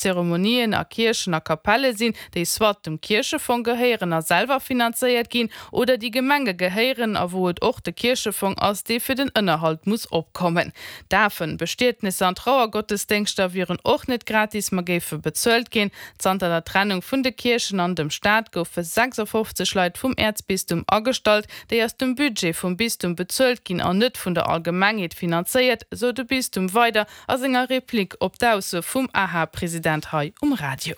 Zeremonien a Kierchen a Kapelle sinn, déi soit dem Kierchefong gehéieren a selwer finanzéiert ginn, oder déi Gemenge gehéieren a wou et och de Kierchefong ass, dee fir den Ënnerhalt muss opkommen. Dafen, Bestietnisser an Trauergottesdéngschter wieren och net gratis, ma géife bezuelt ginn. Zanter der Trennung vun de Kierchen an dem Staat goufe 56 Leit vum Äerzbistum agestallt, déi aus dem Budget vum Bistum bezuelt ginn an net vun der Allgemengheet finanzéiert, sou de Bistum weider a senger Replik op d'Ausso vum AHA-President hei um Radio.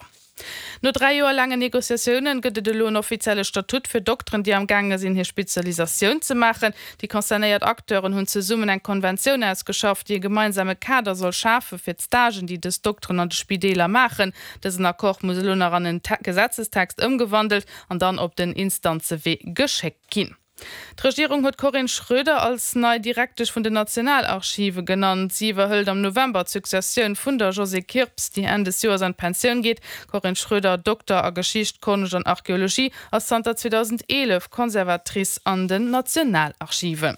No 3 Joer laangen Negociatioune gëtt et elo en offizielle Statut fir Dokteren, déi am gaange sinn, hir Spezialisatioun ze maachen. Déi concernéiert Acteuren hunn zesummen eng Konventioun ausgeschafft, déi e gemeinsame Kader soll schafe fir d'Stagen, déi dës Dokteren an de Spideeler maachen. Dësen Accord muss elo nach an en Gesetzestext ëmgewandelt an dann op den Instanzewee geschéckt ginn. D'Regierung huet d'Corinne Schroeder als nei Direktesch vun den Nationalarchive genannt. Si iwwerhëlt am November d'Successioun vun der Josée Kirps, déi Enn des Joers an d'Pensioun geet. D'Corinne Schroeder, Dokter a Geschicht, Konscht an Archeologie, ass zanter 2011 Conservatrice an den Nationalarchiven.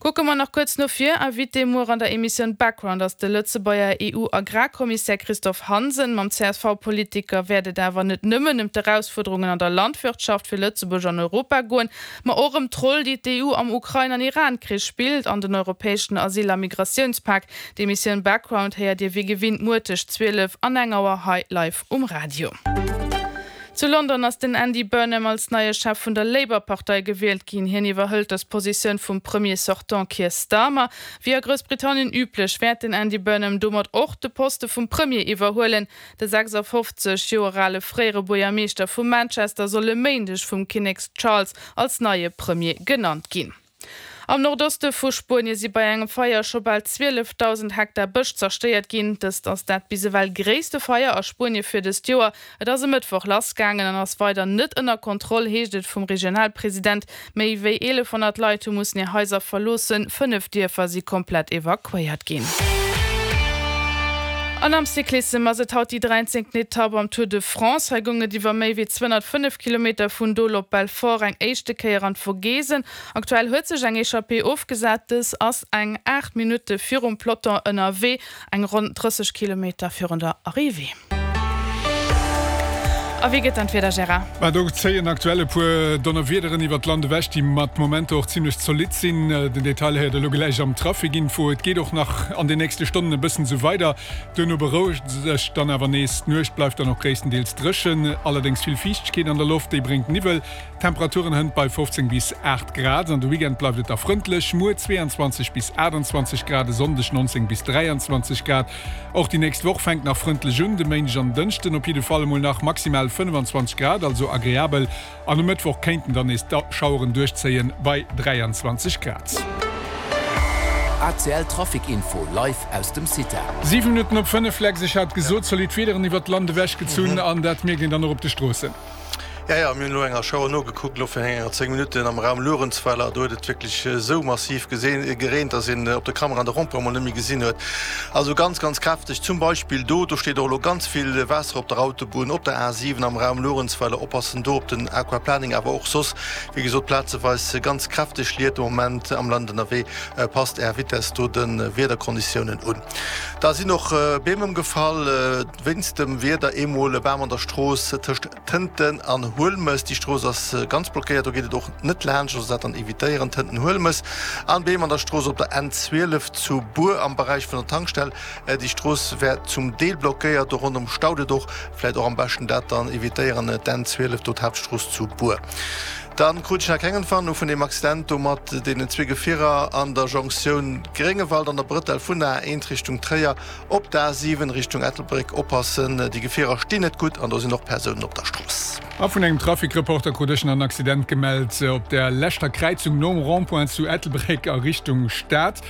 Kucke mer nach kuerz no vir. Invité muer an der Emissioun Background ass de Lëtzebuerger EU-Agrarkommissär Christophe Hansen. Mam CSV-Politiker wäert et awer net nëmmen ëm d'Erausfuerderungen an der Landwirtschaft fir Lëtzebuerg an Europa goen, ma och ëm d'Roll, déi d'EU am Ukrain an Iran-Krich spillt an den europäeschen Asyl a Migratiounspak. D'Emissioun Background héiert Dir wéi gewinnt muer tëscht 12 an eng Auer hei live um Radio. Zu London ass den Andy Burnham als neie Chef vun der Labour-Partei gewielt ginn. Hien iwwerhëlt dës Positioun vum Premier sortant Keir Starmer. Wéi a Groussbritannien üblech, wäert den Andy Burnham domat och de Poste vum Premier iwwerhuelen. De 56 Joer ale fréiere Buergermeeschter vu Manchester soll e Méindeg vum Kinnek Charles als neie Premier genannt ginn. Am Nordoste vu Spuenie si bei engem Feier scho bal 12.000 Hektar Bësch zerstéiert ginn. Dëst ass dat bis ewell gréisste Feier a Spuenie fir dëst Joer. Et ass e Mëttwoch lassgaangen an ass weider net ënner Kontroll, heescht et vum Regionalpresident. Méi wéi 1.100 Leit hu mussen hir Haiser verloossen, 5 Dierfer si komplett evakuéiert ginn. An am Cyclissem ass et haut déi dräizéngten Etapp am Tour de France. Hei goung et iwwer méi wéi 205 Kilometer vun Dole op Belfort eng éischte Kéier an d'Vogesen. Aktuell huet sech eng Echappée ofgesat. Dës ass eng 8 Minutte virum Peloton ënnerwee, eng ronn 30 Kilometer virun der Arrivée. A wéi gëtt dann d'Wieder, Gérard? Ma do zéien aktuell e puer Donnerwiederen iwwert d'Land ewech, déi mat Momenter och zimmlech zolidd sinn. Den Detail héiert der elo gläich am Trafic-Info. Et geet och nach an den nächste Stonnen e bëssen esou weider, duerno berouegt et sech dann awer nees. D'Nuecht bleift dann och gréisstendeels dréchen, allerdéngs vill Fiichtegkeet an der Loft, déi bréngt Niwwel. Temperaturen hënt bei 15 bis 8 Grad. An de Weekend bleift et da frëndlech, muer 22 bis 28 Grad, e Sonndeg 19 bis 23 Grad. Och déi nächst Woch fänkt nach frëndlech un, de Méindeg an den Dënschden op jidde Fall emol nach maximal 25 Grad, also agreabel. An um Mëttwoch kéinten dann nees d'Schaueren duerchzéien, bei 23 Grad. ACL Trafic Info live aus dem CITA. 7 Minutten op 5, Lex, ech hat gesot, zolidd Wiederen iwwert d'Land ewechgezunn an dat mierkt een dann och op de Stroossen. Jo, jo, mir hunn elo enger Schauer nogekuckt, elo virun enger 10 Minutten am Raum Luerenzweiler. Do huet et wierklech esou massiv gereent, dass een op der Kamera de Rond-point emol net méi gesinn huet. Also ganz, ganz kräfteg. Zum Beispill do, do steet och elo ganz vill Waasser op der Autobunn, op der A7 am Raum Luerenzweiler. Oppassen do op den Aquaplaning, awer och soss, wéi gesot, plazeweis ganz kräfteg Liet de Moment am Land ënnerwee. Passt Är Vitess do de Wiederkonditiounen un. Da sinn och Beem ëmgefall wéinst dem Wieder. Eemol e Bam an der Strooss tëscht Tënten an Huelmes, déi Strooss ass ganz blockéiert, do geet et och net laanscht, also dat dann evitéieren, Tënten-Huelmes. An Beem an der Strooss op der N 12 zu Bur am Beräich vun der Tankstell, déi Strooss wär zum Deel blockéiert, do ronderëm staut et och, vläit och am beschten dat dann evitéieren, d'N 12 do d'Haaptstrooss zu Bur. Dann krut ech nach keng Entwarnung vun deem Accident do mat deenen zwee Gefierer an der Jonktioun Gréngewald an der Brëtell vun der A1 Richtung Tréier. Op der A7 Richtung Ettelbréck oppassen, déi Gefierer stinn net gutt an do sinn och Persounen op der Strooss. A vun engem Trafic-Reporter krut ech nach en Accident gemellt op der leschter Kräizung nom Rond-point zu Ettelbréck a Richtung Stad.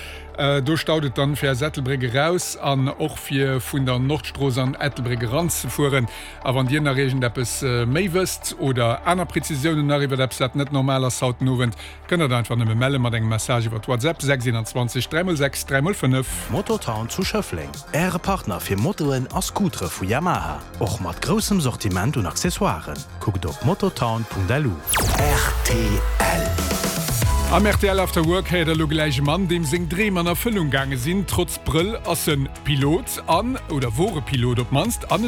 Do staut et dann fir aus Ettelbréck eraus an och fir vun der Nordstrooss an Ettelbréck eranzefueren. A wann Dir nach iergendeppes méi wësst oder aner Prezisiounen nach iwwert eppes wat net normal ass haut den Owend, Kënnt der einfach nëmme melle mat engem Message iwwert WhatsApp 6 21 3 x 6 3 5. Mototown zu Schëffleng, Äre Partner fir Motoen a Scootere vu Yamaha, och mat groussem Sortiment un Accessoiren. Kuckt op mototown.lu. Rtl. Am rtl After Work héiert der elo gläich e Mann, deem seng Dreem an Erfëllung gaange sinn. Trotz Brëll ass en Pilot an, oder wor e Pilot op d'mannst, an en.